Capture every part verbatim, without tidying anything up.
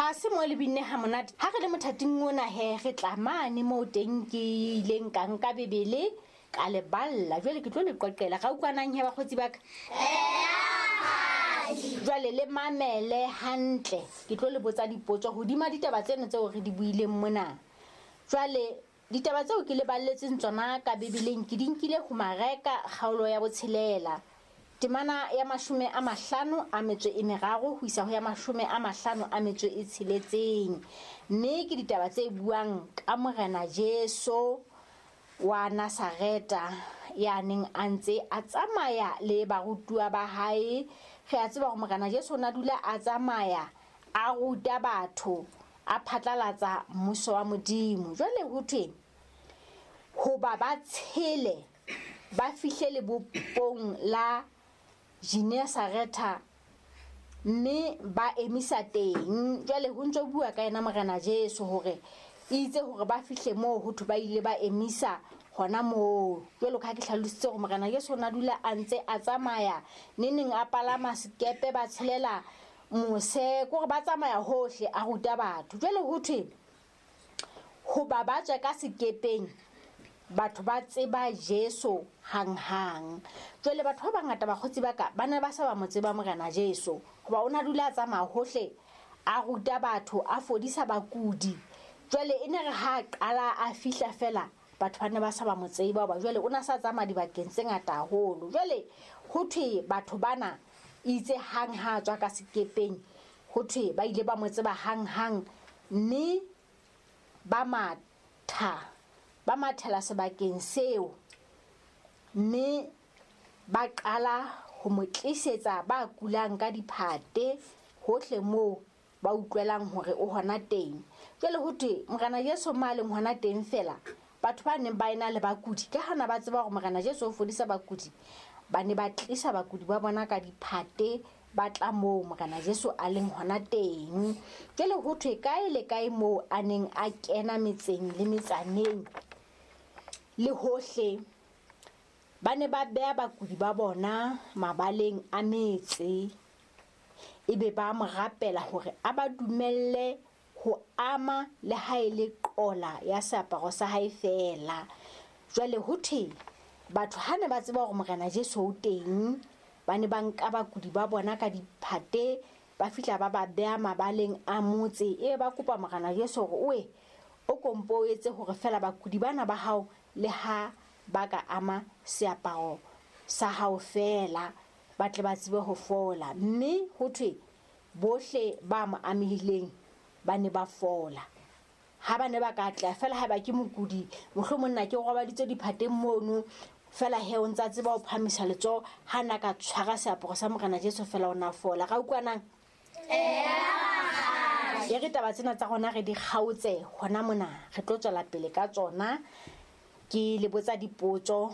Tlase mo le binne ha monate. Ha re le mothating ona he re tla mane moo teng ke ileng ka nka Bibele ka le balla. Jwale ke tlo le qoqela. Ga utlwanang he bakgotsi ba ka? Jwale le mamele hantle. Ke tlo le botsa dipotso hodima ditaba tseno tseo re di buileng mona. Jwale ditaba tseo ke le balletseng tsona ka Bibeleng ke di nkile ho Mareka kgaolo ya botshelela. Temana ya mashome a mahlano a metso e meraro ho isa ho ya mashome a mahlano a metso e tsheletseng. Mme ke ditaba tse buang ka Morena Jesu wa Nazareta ya neng a ntse a tsamaya le barutuwa ba hae. Re a tseba hore Morena Jesu o na dula a tsamaya a ruta batho, a phatlalatsa mmuso wa Modimo. Jwale ho thwe hoba ba tshele ba fihle lebopong la Genesareta mme ba emisa teng. Jwale ho ntso bua ka yena Morena Jesu hore itse hore ba fihle moo ho thwe ba ile ba emisa hona moo. Jwalo ka ha ke hlalositse hore Morena Jesu o na dula a ntse a tsamaya neneng a palama sekepe ba tshelela mose, kore ba tsamaya hohle a ruta batho. Jwale ho thwe hoba ba tswe ka sekepeng batho ba tseba Jesu hanghang. Jwale batho ba bangata bakgotsi ba ka ba ne ba sa ba mo tseba Morena Jesu hoba o na dula a tsamaya hohle a ruta batho, a fodisa bakudi. Jwale e ne re ha qala a fihla fela batho ba ne ba sa ba mo tseba hoba jwale o na sa tsamaya dibakeng tse ngata haholo. Jwale ho thwe batho bana itse hang ha tswa ka sekepeng ho thwe ba ile ba mo tseba hanghang mme ba matha, ba mathela sebakeng seo mme ba qala ho mo tlisetsa ba kulang ka diphate hohle moo ba utlwelang hore o hona teng. Jwale ho thwe Morena Jesu ma leng hona teng fela batho ba neng ba ena le bakudi ka hana ba tseba hore Morena Jesu o fodisa bakudi, ba ne ba tlisa bakudi ba bona ka diphate ba tla moo Morena Jesu a leng hona teng. Jwale ho thwe kae le kae moo a neng a kena metseng le metsaneng le hohle ba ne ba beha bakudi ba bona mabaleng a metse, ebe ba mo rapela hore a ba dumelle ho ama le ha e le qola ya seaparo sa hae feela. Jwale ho thwe batho ha ne ba tseba hore Morena Jesu o teng, ba ne ba nka bakudi ba bona ka diphate ba fihla ba ba beha mabaleng a motse, ebe ba kopa Morena Jesu hore oe o kompo o etse hore feela bakudi bana ba hao le ha ba ka ama seaparo sa hao feela ba tle ba tsebe ho fola. Mme ho thwe bohle ba mo amehileng ba ne ba fola. Ha ba ne ba ka tla feela ha ba ke mokudi, mohlomong nna ke robaditse diphateng mono fela he o ntsa tseba ho phamisa letsoho, ha na ka tshwara seaparo sa Morena Jesu fela o na fola. Ga utlwanang? E re taba tsena tsa rona re di kgaotse hona mona, re tlo tswela pele ka tsona. Ke le botsa dipotso.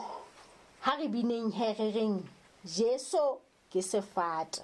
Ha re bineng he re reng Jesu ke sefate.